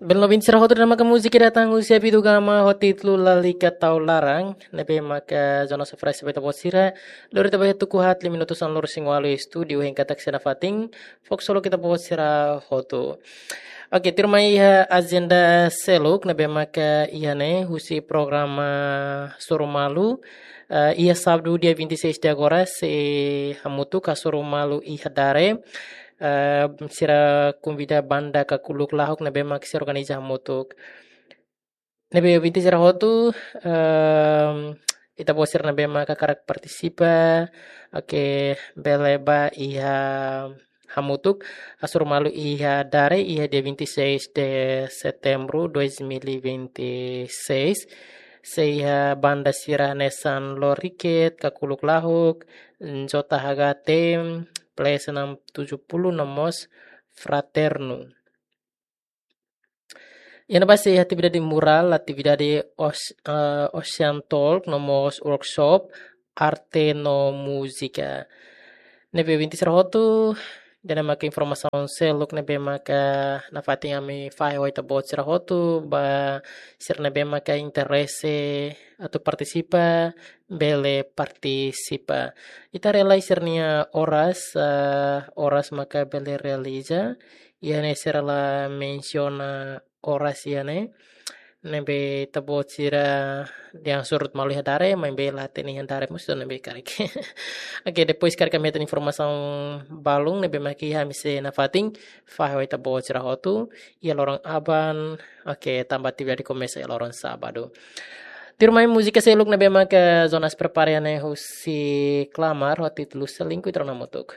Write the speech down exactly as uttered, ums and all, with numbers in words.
Bele no ouvinte sira hotu, ida-ne'e maka múzika datang husi Abidugama ho títulu Lalika Tau Laran, ne'ebé maka Jonas Fres beta bot sira, lori ita ba iha tuku haat, lima minutu sanulu-resin-ualu iha estúdiu, hein katak sei nafatin, fó ksolok ita-boot sira hotu. Oke, tuirmai iha ajenda seluk, ne'ebé maka iha ne'e, husi programa Hasoru Malu, eh, iha sábadu dia vinte e seis de agora, sei hamutuk Hasoru Malu iha Dare, eh, sira konvida banda Kakuluk Lahuk ne'ebé mak sei organiza hamutuk. Ne'ebé ouvinte sira hotu, ehm, ita-boot sira ne'ebé mak hakarak partisipa, oke, bele ba iha hamutuk Hasoru Malu iha Dare, iha dia vinte e seis de setembro dois mil e vinte e seis. Sei iha banda sira hanesan Loriket, Kakuluk Lahuk, J H T, Place enam tujuh puluh, no mós Fraterno. Iha ne'ebá sei iha atividade murál, atividade os-, eh, Ocean Talk, no mós workshop arte no múzika. Ne'ebé ouvinte sira hotu, ida-ne'e maka informasaun seluk ne'ebé maka nafatin ami fahe ho ita-boot sira hotu, ba sira ne'ebé maka interese atu partisipa, bele partisipa. Ita haree lai sira-nia oras, eh, oras maka bele realiza, iha ne'e sira la mensiona oras iha ne'e. Ne'ebé ita-boot sira dehan surut malu iha Dare, maibé la hatene iha Dare mós, ne'ebé karik. Oke, depois karik ami hetan informasaun balun ne'ebé mak iha, ami sei nafatin fahe ho ita-boot sira hotu iha loron aban. Oke, tanba atividade komesa iha loron sábadu. Tuirmai múzika seluk ne'ebé maka Jonas prepara iha ne'e husi Klamar, ho títulu Selingkuh, ita rona hamutuk.